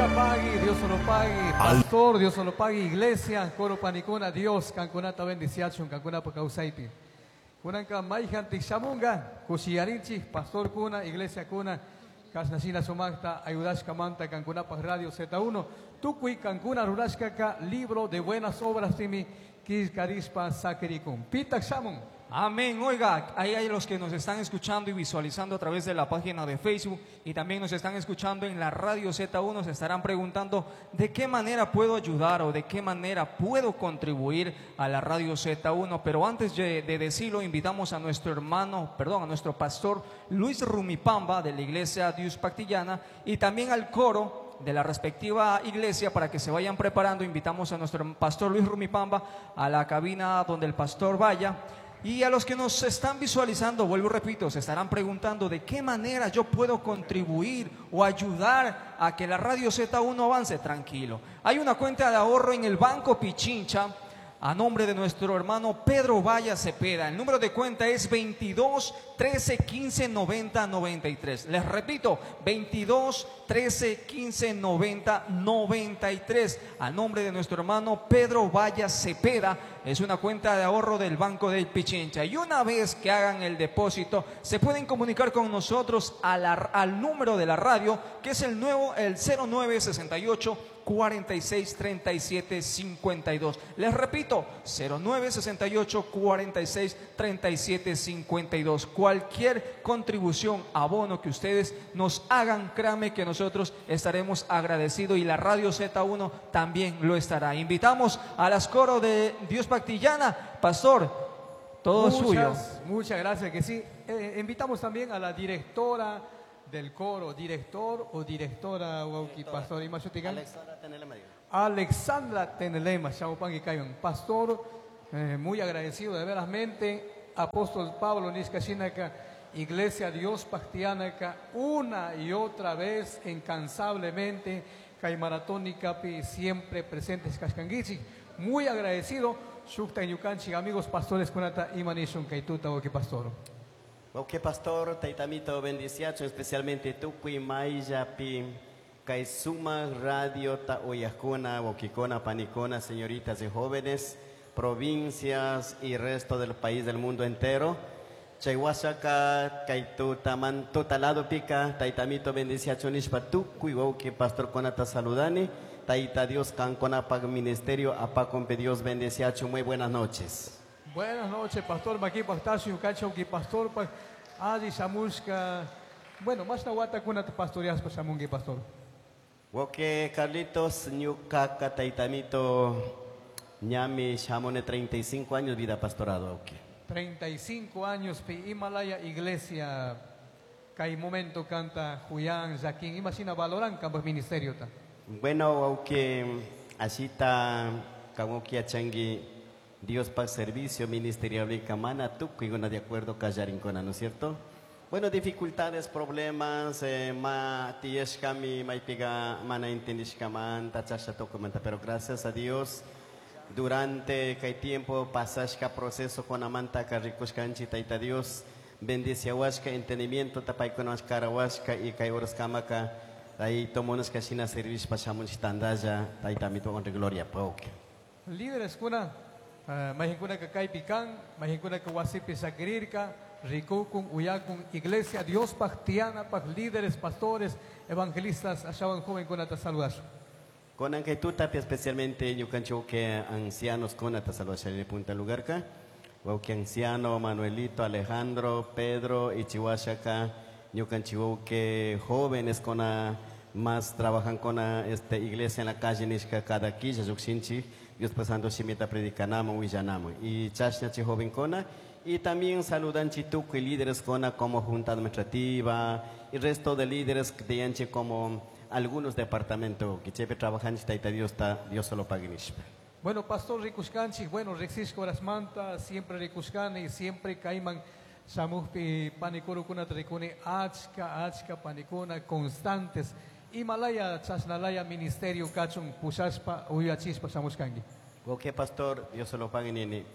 pagui, Dios solo pagui, pastor, Dios solo pagui, iglesia, coro panicuna, Dios, kancunata bendiciachun, kancunapa kawsaypi. Kunanka mayjantik shamunga, kushiyarinchik, pastor kuna, iglesia kuna, kashnashina sumaqta, ayudashkamanta kankunapaj Radio Z1, tukuy kankuna rurashkaka, libro de buenas obras timi, killkarishpa sakirikun. Pitak shamun. Amén. Oiga, ahí hay los que nos están escuchando y visualizando a través de la página de Facebook y también nos están escuchando en la radio Z1, se estarán preguntando de qué manera puedo ayudar o de qué manera puedo contribuir a la radio Z1. Pero antes de decirlo, invitamos a nuestro hermano, perdón, a nuestro pastor Luis Rumipamba de la iglesia Dios Pactillana y también al coro de la respectiva iglesia para que se vayan preparando. Invitamos a nuestro pastor Luis Rumipamba a la cabina donde el pastor vaya. Y a los que nos están visualizando, vuelvo y repito, se estarán preguntando de qué manera yo puedo contribuir o ayudar a que la radio Z1 avance. Tranquilo. Hay una cuenta de ahorro en el Banco Pichincha a nombre de nuestro hermano Pedro Valla Cepeda. El número de cuenta es 22 13 15 90 93. Les repito, 22 13 15 90 93. A nombre de nuestro hermano Pedro Valla Cepeda. Es una cuenta de ahorro del Banco del Pichincha. Y una vez que hagan el depósito, se pueden comunicar con nosotros al número de la radio, que es el nuevo, el 0968 46 37 52. Les repito, 0968 46 37 52. Cualquier contribución, abono que ustedes nos hagan, créanme que nosotros estaremos agradecidos y la radio Z1 también lo estará. Invitamos a las coros de Dios Pactillana. Pastor, todo suyo. Muchas gracias, que sí. Invitamos también a la directora del coro, director o directora, wauki, pastor, Imashutikan. Alexandra Tenelema, digo. Alexandra Tenelema, Shamupangi Kayon. Pastor, muy agradecido de verasmente. Apóstol Pablo Nishkashinaka, Iglesia Dios Pactianaca, una y otra vez, incansablemente, Kaimaratónica, pi, siempre presentes Kashkangichi. Muy agradecido. Shukta Ñukanchik, amigos pastores kunata imanishun kaituta wauki pastor. Wauki pastor, taitamito bendiciacho, especialmente tukuy mayllapi, kay suma radio ta uyajkuna, waukikuna, panikuna, señoritas y jóvenes, provincias y resto del país, del mundo entero. Chay wasaka, kay tutaman, tutalado pica, taitamito bendiciacho nishpa tukuy wauki pastor konata saludani, taita Dios kankona pag ministerio, apa kompe Dios bendiciacho, muy buenas noches. Buenas noches, pastor Maki Pastasio, Cacho, que pastor, pa, Adi Samushka. Bueno, más na wata kuna tu pastorias pa samungi pastor. Woke Carlitos, ñuka taitamito, ñami shamone 35 años vida pastorado, ok. 35 años pi Himalaya Iglesia, kai momento canta Julián, Jaquín, imagina valoran campos ministerio ta. Bueno, aunque así ta, como que achangi Dios pa servicio ministerial y camana tukuy de acuerdo kallarinkuna, ¿no es cierto? Bueno, dificultades, problemas, ma tiyeshkami, maipiga, mana intendishkaman, tachasha documenta, pero gracias a Dios, durante kay tiempo pasashka proceso con amanta karikushkanchi taita Dios, bendice huasca, entendimiento tapaykunash karahuasca y kay oroskamaka, ahí tomonos kashina servicio pashamunch tandaya, taita mito honra y gloria, pauke. Líderes kuna, majinkuna ka kaypi kan, majinkuna ka wasipi sakirirka, rikukun, uyakun, iglesia, Dios pactiana, paj líderes, pastores, evangelistas, ashawan joven kuna ta saludazo. Con que tú tapia especialmente ñukancho que ancianos con ta saludación en punta lugar ka, que anciano Manuelito, Alejandro, Pedro y Chihuahua ñukancho que jóvenes con a, más trabajan con a, este iglesia en la calle nishka cada quilla yuxinchi, Dios pasando shimita predicanamo huillanamo y chashna chi joven cona y también saludan chituco y líderes cona como junta administrativa y resto de líderes de yanche como algunos departamentos que chepe trabajan taita Dios ta Dios solo pague nishpa. Bueno, pastor Rikushkanchi, bueno, Rixishko Rasmanta, siempre Rikushkani, siempre Caiman, Samujpi, Panikuru kuna trikuni, Achka, Achka, Panikuna, constantes. Himalaya, Chasnalaya, Ministerio, Kachun, Pushaspa, Uyachispa, Samushkangi. Ok, pastor, Dios se lo pague, nene.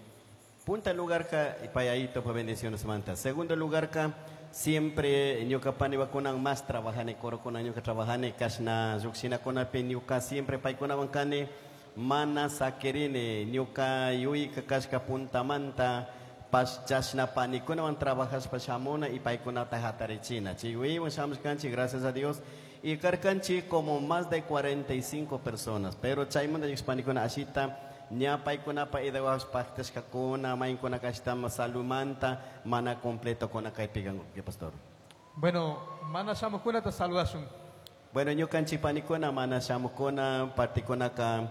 Punta lugar ka, y payayito, pues bendiciones, manta. Segundo lugar ka, Siempre ñuka paniwakunan más trabajane corokuna ñuka trabajane kashna llukshinakunapi ñuka siempre paykunawan kani mana sakirini ñuka yuyka kashka puntamanta pas chashna panikunawan trabajashpa shamuna y paykunata hatarichina. Chay yuyaywan shamushkanchik, gracias a Dios. Y karkanchik como más de 45 personas, pero chaymanta panikuna ashita ña paykunapa idawash paktashkakuna maynkuna kashtama salumanta mana completo kuna kaypi ¿Qué pastor? Bueno, mana shamukunata saludashun. Bueno, ñukanchik panikuna mana shamukuna partikunaka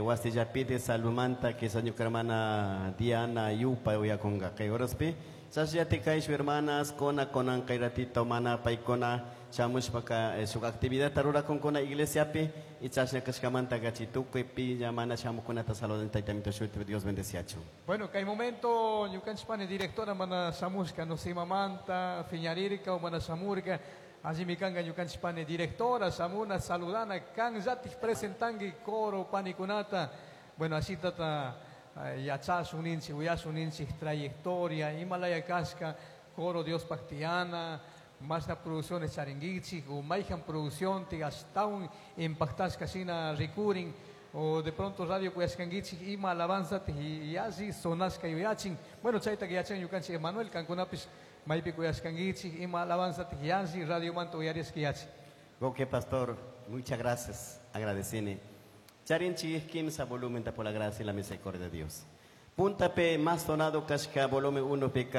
wasillapiti salumanta quizás ñuka hermana Diana Yupa uyakunga kay horaspi. Chasllati kay hermanas kona konan kay ratito mana paykuna shamushpaka shuk actividad rurakunkuna iglesiapi y chashna kashkamanta kachi tukuy pilla mana shamukunata saludan taytamito shuti Dios bendeciachu. Bueno, kay momento ñukanchik pani directora mana shamushka no simamanta fiñarirka o mana shamurka allí mi kanga ñukanchik pani directora shamuna saludana kan yatik presentangi coro panikunata. Bueno, así tata yachashun ninchik uyashun ninchik trayectoria Himalaya kashka coro Dios pactiana masna producciones charinguichik o mayhan producción ti ashtawan impactashka shina rikurin o de pronto radio kuyashkanguichik ima alabanza ti yalli sonashka yuyachin. Bueno, chayta yachan ñukanchik Emanuel kankunapish maypi kuyashkanguichik ima alabanza ti yalli radio manta uyarishka yachin. Ok, pastor, muchas gracias, agradecine. Charinchik kimsa volumen por la gracia y la misericordia de Dios. Punta P más sonado kashka volumen 1 pk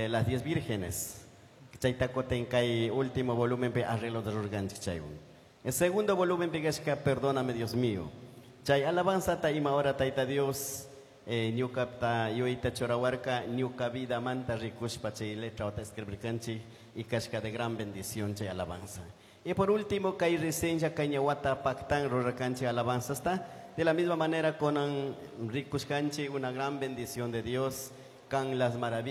las 10 vírgenes. Chaytakoten kay último volumen pe arreglo de rurganchik chaywan. El segundo volumen pe kashka perdóname Dios mío. Chay alabanza ta ima hora taita Dios ñuka ta yuyta churawarka ñuka vida manta rikushpa chay letra ota escribirkanchik y kashka de gran bendición chay alabanza. Y por último, kay reseña kay ñawata pactan rurakanchik alabanza está. De la misma manera con rikushkanchik una gran bendición de Dios, con las maravillas.